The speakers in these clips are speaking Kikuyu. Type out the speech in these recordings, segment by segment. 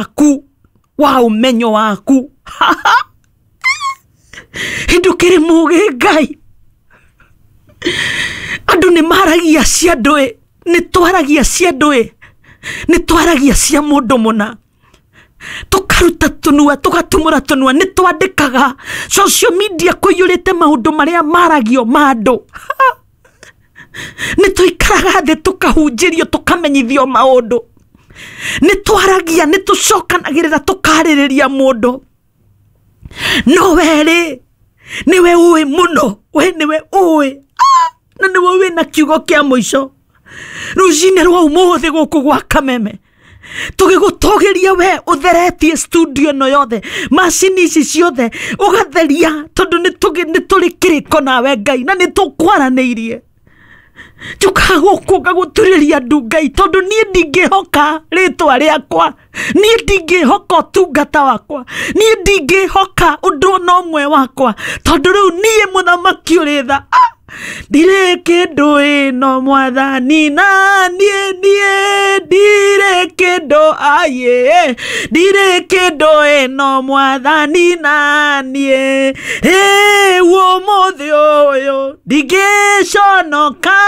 Waku wa ũmenyo waku. Ndũkĩrĩ mũgĩ Ngai. Andũ nĩ maragia cia andũ ĩ, nĩ twaragia cia andũ ĩ, nĩ twaragia cia mũndũ mũna, tũkaruta tũnua, tũgatumũra tũnua, nĩ twandĩkaga social media kũiyũrĩte maũndũ marĩa maragio ma andũ. Nĩ tũikaraga thĩ tũkahunjĩrio, tũkamenyithio maũndũ, nĩ twaragia, nĩ tũcokanagĩrĩra, tũkarĩrĩria mũndũ. No werĩ nĩwe ũĩ mũno, we nĩwe ũĩ, na nĩwe wĩna kiugo kĩa mũico. Rũcinĩ rwa ũmũthĩ gũkũ gwa Kameme tũgĩgũtũgĩria we ũtheretie studio ĩno yothe, macini ici ciothe ũgatheria, tondũ nĩ tũrĩ kĩrĩko nawe Ngai, na nĩ tũkwaranĩirie. Njũkaga gũkũ ngagũturĩria ndu Ngai, tondũ niĩ ndingĩhoka rĩtwa rĩakwa, niĩ ndingĩhoka ũtungata wakwa, niĩ ndingĩhoka ũndũ ona ũmwe wakwa, tondũ rĩu niĩ mũthamaki ũrĩ tha, ndirĩ kĩndũ ĩno mwathani, na niĩ ndirĩ kĩndũ, aye, ndirĩ kĩndũ ĩno mwathani, na niĩ rĩu ũmũthĩ ũyũ ndingĩconoka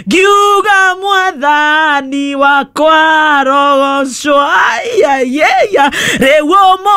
ngiuga mwathani wakwa rogocwo, aiaiya, rĩu ũmũthĩ.